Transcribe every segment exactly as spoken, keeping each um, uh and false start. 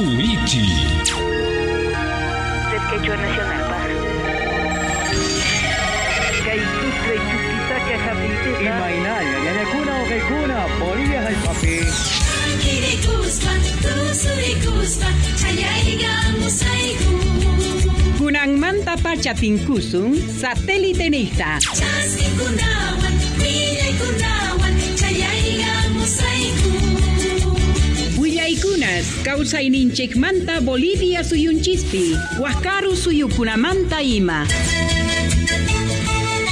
Wichi. Red Quechua Nacional Paz. Kay Chuquisaca hap'iypiqa Imaynalla ñañakuna uqaykuna Bolivia hallp'api. Tankirikuspa, tusurikuspa, chayaykamusayku. Kunanmanta pacha tinkusun satélite niqta. Chaskikunawan, willaykunawan, chayaykamusayku. Willaykunas kawsayninchikmanta Bolivia suyunchispi, Waqkaru suyukunamanta ima.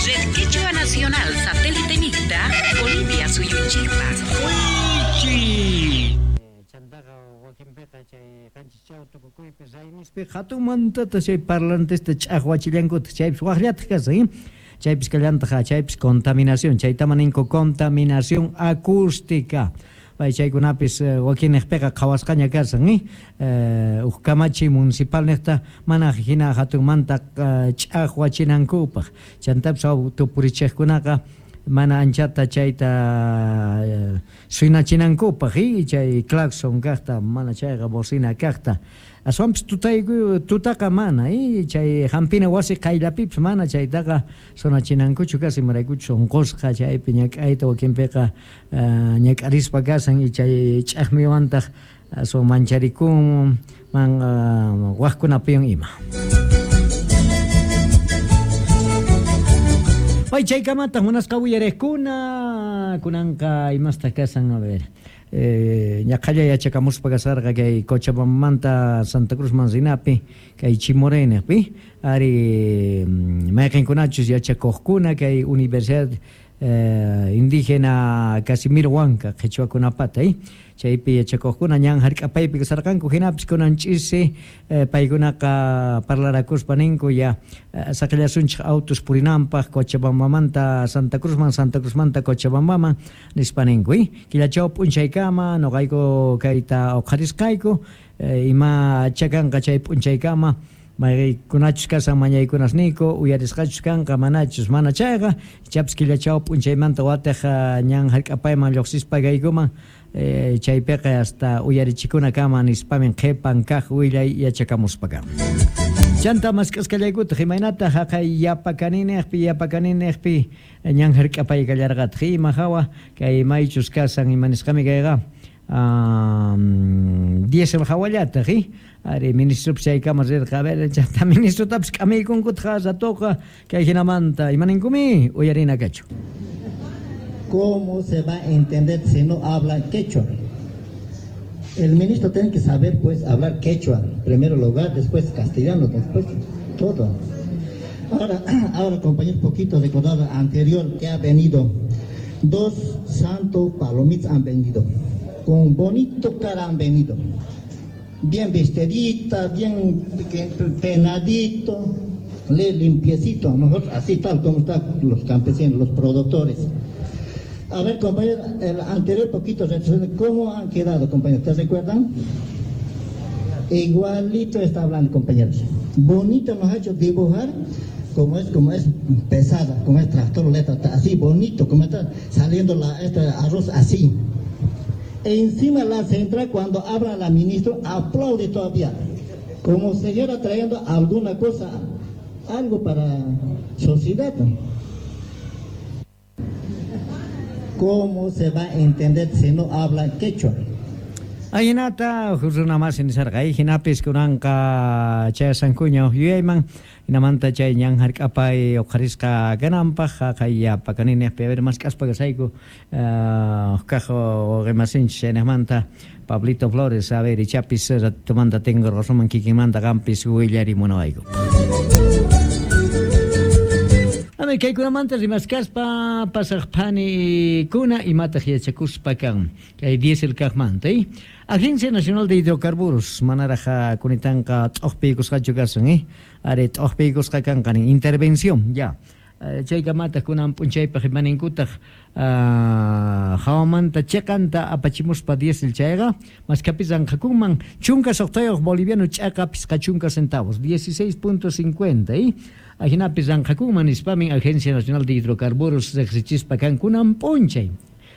Red Quechua Nacional Satélite Nicta, Bolivia suyunchikpa. Wichi. Chantaqa wakinpiqa chay qanchis tukukuypi raymispi hatunmantata chay parlantesta ch'aqwachillankutaq chaypis waqllataq kasan chaypis kallantaq chaypis contaminación chaytama ninku contaminación acústica pay chaykunapis wakinniqpiqa qhawasqaña kasan eh uj kamachi municipal niqta mana hina hatunmanta ch'aqwachinankupaq chantapis tupurichiqkunaqa mana anchata chayta suynachinankupaq chay claxon kaqta mana chayqa bocina kaqta aswanpis tutayku tutaqa mana chay hampina wasi qayllapipis mana chaytaqa sonachinankuchu kasan imaraykuchus unqusqa chaypi ñak'ayta wakinpiqa ñak'arispa kasan y chay ch'aqmiwantaq aswan mancharikun man waqkunapiwan ima. Pay chaykamataq munasqa uyariqkuna kunanqa imastaq kasan a ver eh ñaqhalla yachakamuspa kasarqa kay Cochabambamanta Santa Cruzman rinapi kay Chimoreneqpi ari mayqinkunachus yachakuqkuna kay Universidad eh, Indígena Casimiro Huanca qhichwakunapata eh chaypi yachakuqkuna ñan hark'apaypi kasarqanku hinapis kunan ch'isi eh, paykunaqa parlarakuspa ninku ya eh, saqillasunchik autos purinanpaq Cochabambamanta Santa Cruzman Santa Cruzmanta Cochabambaman nispa ninku eh killachaw p'unchaykama nuqayku kayta uqharisqayku eh, ima chakanqa chay p'unchaykama maykunachus kasan mañaykunasniyku uyarisqachus kanqa manachus mana chayqa ichapis killachaw p'unchaymanta wataq ñan hark'apayman lluqsispa kaykuman eh, chaypiqa hasta uyarichikunakama nispamin qhipan kaq willay yachakamuspa. Chanta mask'asqallaykutaq imaynataq haqay yapakaninniqpi yapakaninniqpi ñan hark'apay kallarqataq ima hawa kay maychus kasan ima nisqami kayqa um, diésel hawallataq ari ministropis chaykama rirqa a ver chanta ministrotapis k'amiykunkutaq ratoqa kay hinamanta imaninkumi uyarina kachu. ¿Cómo se va a entender si no habla quechua? El ministro tiene que saber, pues, hablar quechua, en primer lugar, después castellano, después todo. Ahora, ahora compañero, poquito recordado anterior que ha venido, dos santos palomitas han venido, con bonito cara han venido, bien vestidita, bien peinadito, le limpiecito, nosotros así tal como están los campesinos, los productores. A ver, compañero, el anterior poquito, ¿cómo han quedado, compañeros? ¿Te recuerdan? Igualito está hablando, compañeros. Bonito nos ha hecho dibujar, como es, como es pesada, como es tractor, letra, así, bonito, como está saliendo la, este arroz así. E encima la central, cuando habla la ministra, aplaude todavía, como si estuviera trayendo alguna cosa, algo para sociedad. ¿Cómo se va a entender si no habla quechua? Ahinata runa masi nisarqa hinapis kunanqa chayasankuña yuyayman hinamanta chay ñan hark'apay uqharisqa kananpaq haqay yapakaninniqpi a ver mask'aspa kasayku kaq wawqimasinchis chaynaqmanta Pablito Flores a ver ichapis ratomanta tengo razón kikinmanta qampis willarimunawayku. A ver, kaykunamanta rimaskaspa pasaq phanikuna imataq yachakuspa kan kay diésel kaqmanta eh? Agencia Nacional de Hidrocarburos manaraq kunitanqa t'uqpiykusqachu kasan eh? Ari t'uqpiykusqa kanqa nin intervención ya chaykamataq kunan p'unchaypaq imaninkutaq hawamanta chiqanta apachimuspa diésel chayqa maskapis ranqakunman chunka suqtayuq boliviano ch'aqa pisqa chunka centavos dieciséis punto cincuenta eh? Ajinapis ranqakunman nispamin Agencia Nacional de Hidrocarburos riqsichispa kan kunan p'unchay